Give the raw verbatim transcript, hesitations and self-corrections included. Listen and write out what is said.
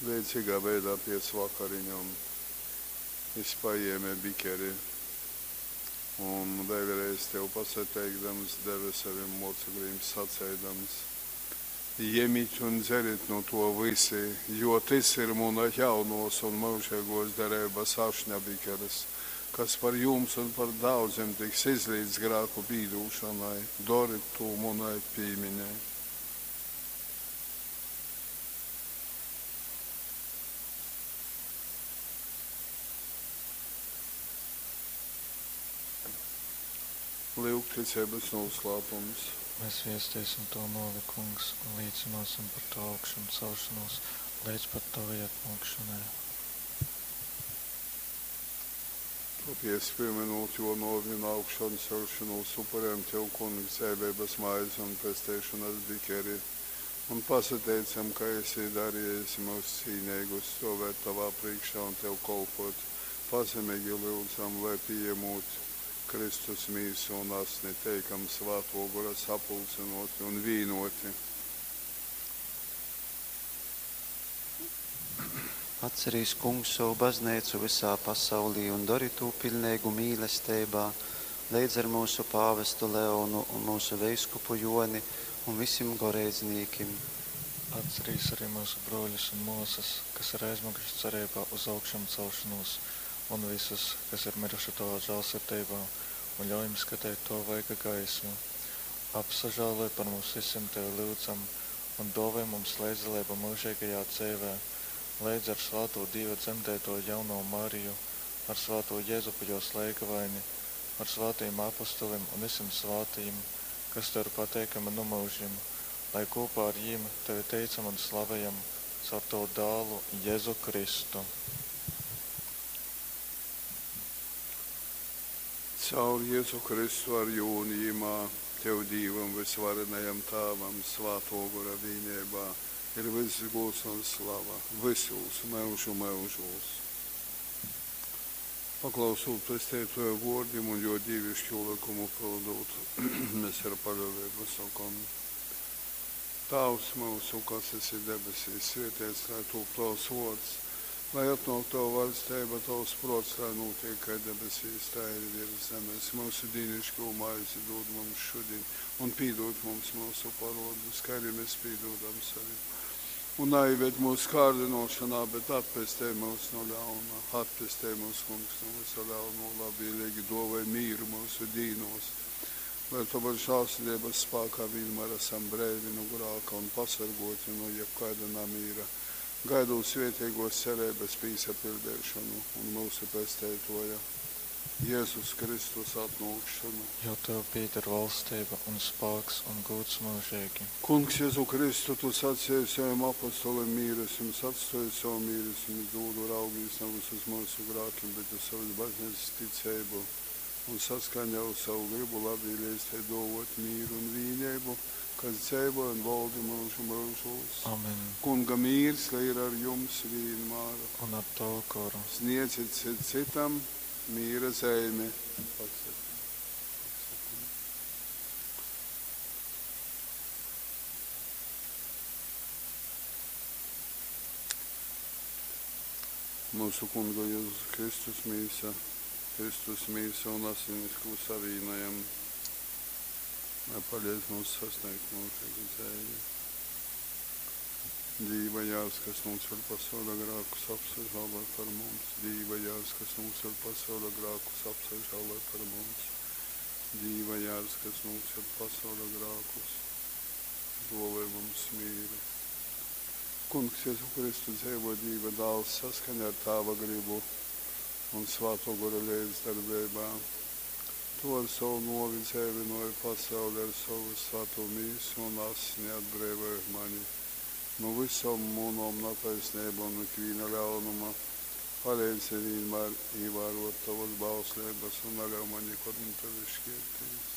Leidzigā veidā pēc vakariņom jys pajēme bikeri un, vēļreiz tev pasateikdams, deve sovim mōceklim, saceidams, Jemit un dzerit nu tō vysi, jo tys ir muna jaunōs un myužeigōs dereibas ašņa bikers, kas par jums un par daudzim tiks izlīts grāku pīdūšonai. Dorit tū munai pīmiņai. Lyugticeibas nūslāpums. Mēs viesteisim Tavu nōvi, Kungs, un līcynōsim par Tavu augšamcelšanos leidz pat Tavai atnōkšanai. Tōpēc, pīmynūt Jō nōvi un augšanceļšonūs, upurejam Tev, Kungs, dzeiveibas maizi un pesteišonas bikeri, un pasateicam, ka esi darejis myus cīneigus stōvēt Tovā prīškā un Tev kolpōt. Pazemeigi lyudzam, lai, pījamūt Kristus mīsu un asni, teikam Svātō Gora sapulcynōti un vīnōti. Atcerīs, Kungs, sovu bazneicu vysā pasaulī un dori tū piļneigu mīlesteibā, leidz ar myusu pāvestu Leonu un myusu veiskupu Jōni un vysim goreidznīkim. Atcerīs arī myusu brōļus un mōsas, kas ir aizmyguši cereibā uz augšamcelšanos, un vysus, kas ir myruši tovā žālsirdeibā, un ļauj jim skateit tova vaiga gaismu. Apsažāloj par mums vysim, tevi lyudzam, un dōvoj mums leidzdaleibu myužeigajā dzeivē, leidz ar svātū Dīva dzemdeitoju jaunovu Mariju, ar svātū Jezupu jōs leigavaini, ar svātajim apostolim un vysim svātajim, kas tev ir pateikami nu myužim, lai kopā ar jim tevi teicam un slavejam caur tavu dālu Jēzu Kristu. Caur Jezu Kristu ar jū un jimā, Tev, Dīvam vysvarenajam Tāvam, Svātō Gora vīneibā ir vyss gūds un slava vysūs myužu myužūs. Paklausūt Pesteitōja vōrdim un jō dīviškū lykumu pyldūt, mes ar paļōveibu sokom: Tāvs myusu, kas esi debesīs, svēteits lai tūp tovs vōrds, lai atnōk tova vaļsteiba, tovs prōts, lai nūtiek kai debesīs, tai arī virs zemes. Myusu dīniškū maizi dūd mums šudiņ, un pīdūd mums myusu parōdus, kai arī mēs pīdūdam savim. Un naīved mūsu kārdinošanā, bet atpestej mūs no ļauna. Atpestej mūs, Kungs, no visa ļauno, labvēlīgi dōvoj mīru mūsu dīnos, lai tavas žālsirdības spākā vienmēr esam breivi no grāka un pasargoti no jebkaida namīra, gaidot svētīgos cerības pīsapildēšanu un mūsu pesteitoja Jēzus Kristus atnākšanu. Jo tev pieder valstība un spēks un gods mūžīgi. Kungs, Jēzu Kristu, tu sacīji saviem apostoliem mīru es jums atstāju, savu mīru es jums dodu, raugīs nevis uz mūsu grākiem, bet uz savas baznīcas ticību un saskaņā ar savu gribu labvēlīgs te dovot mīru un vīnību, kas dzīvo un valdi mūžu mūžos. Amen. Kunga mīrs, lai ir ar jums vienmēr. Un ar tavu goru. Sniedziet cit citam mīra zīmi. Pasaka. Pasaka. Mūsu Kunga Jēzus Kristus mīsa, Kristus mīsa un asinis, ko savīnojam, lai palīdz mums sasniegt mūžīgu dzīvi. Dīva jārs, kas noceļ pasaules grēkus, apsažāloj par mums. Dīva jārs, kas noceļ pasaules grēkus, apsažāloj par mums. Dīva jārs, kas noceļ pasaules grēkus, dāvā mums mīru. Kungs, Jēzu Kristu dzīvo Dīva dāls saskaņā ar Tāva gribu un Svāto Gora līdzdarbībā. Tu ar savu novi dzēvinoji pasauli ar savu svēto mīsu un asni atbrīvoji mani no visām mūnām netaisnībām un ikviena ļaunuma. Palīdzi vienmēr ievērot tavas bauslības un neļauj man nekad no tevis šķirties.